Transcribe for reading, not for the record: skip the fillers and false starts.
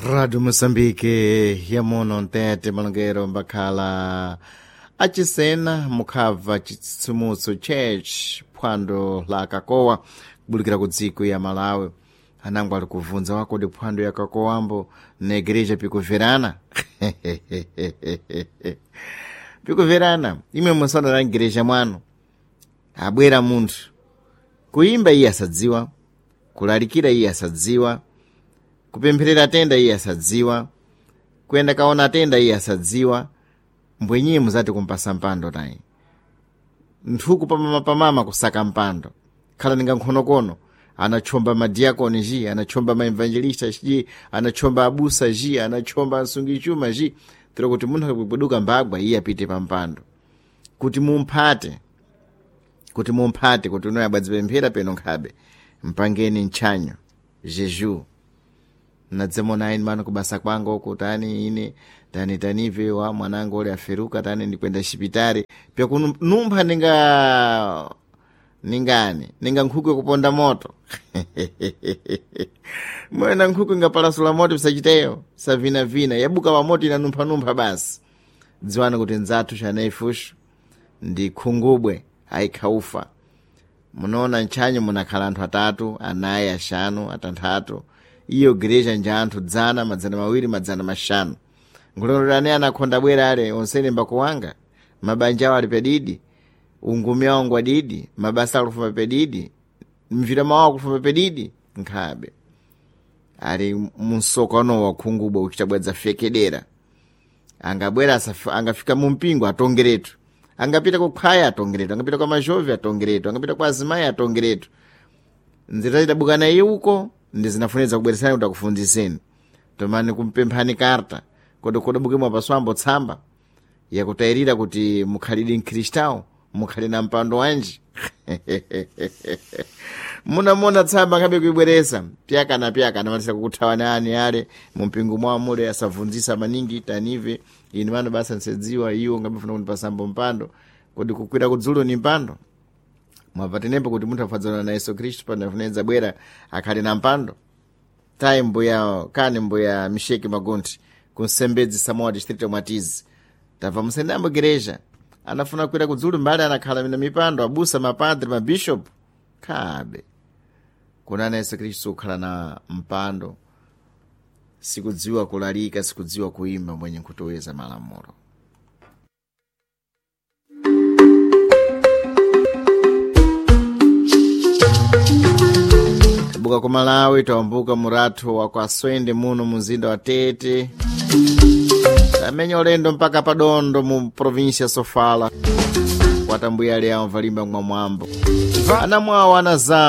Rádio Moçambique yamuno mtete malongero mbakhala achisena mukhabva chitsitsimutso church phwando la kakowa kubulikira ku dziko ya Malawi. Anango ali kuvunza wakodi phwando ya kakowambo na igreja pikuverana pikuverana imwe musana la igreja mwanu abwera munthu kuimba iye asadziwa, kulalikira iye asadziwa, kupempherera tenda iye asadziwa, kuyenda kaona tenda iye asadziwa. Mbwenyiye muzati kumpasa mpando tayi nthuku pamama kusaka mpando khala ninga nkhonokono anachomba madiakoni ji, anachomba maevangelista ji, anachomba abusa ji, anachomba asungichuma ji, tero kuti munthu akabweduka mbagwa iye apite pa mpando kuti mumphate, kuti mumphate kuti unoyo abwadzipemphera peno nkhabe mpangeni ntchanyo jeju nadzemona aini mano kubasa kwanga uku tani ine tani tanive wa mwanangu uli aferuka tani ndikwenda xipitari pyakunumpha ninga ningani ninga nkhuku yakuponda moto mwena nkhuku ingapalasula moto pisachiteyo savinavina yabuka pa moto inanumphanumpha basi. Dziwani kuti nzathu xanaifushu ndi khungubwe ayikhaufa. Munoona ntchanyo munakhala anthu atatu, anayi, axanu, atanthatu. Iyo gereja nja anthu 100, 200, 500. Nkulondolani anakhonda bwera ale onsene mbakuwanga mabanja awo ali pedidi, ungumi awo ngwadidi, mabasa akufuma pedidi, mvira mawo akufuma pedidi. Nkhabe ali munsokano wa khungubwe uchitabwadza fekedera angabwera angafika mumpingo atongeretu, angapita kukhwaya atongeretu, angapita kwa mazhovi atongeretu, angapita kwa azimayi atongeretu. Nzira zidabukana iye uko ndi zinafunidza kubweresani kuti akufundziseni tomani kumpemphani karta kodi kodabuke mwapaswambo tsamba yakutayirira kuti mukhalidi mkhristawo mukhali na mpando wanji. Munamona tsamba nkhabe kuibweresa pyakana pyakana matisa kukuthawani ani ale mumpingo mwawo mule asavunzisa maningi tanive ine mano basa nsedziwa iwo ngabefuna kundipasambo mpando kodi kukwira kudzulo ni mpando mwabva tenepo kuti munthu afadzana na Yesu Khristu panafunedza bwera akhale na mpando tayi mbuya kani mbuya Misheki Magunthi kunsembedzi Samoa distrito Mwatizi tabva musendambo gereja anafuna kukwira kudzulu mbali anakhala mina mipando abusa mapadre mabishop khabe kunana Yesu Khristu kukhala na mpando sikudziwa kulalika sikudziwa kuimba mwenye nkutoweza malamulo. Tabuka ku Malawi tawambuka murathu wa kwa Swende muno muzinda wa Tete tamenya ulendo mpaka padondo mu província Sofala kwatambuya ali awo valimba mwamwambo anamwawo ana zawo.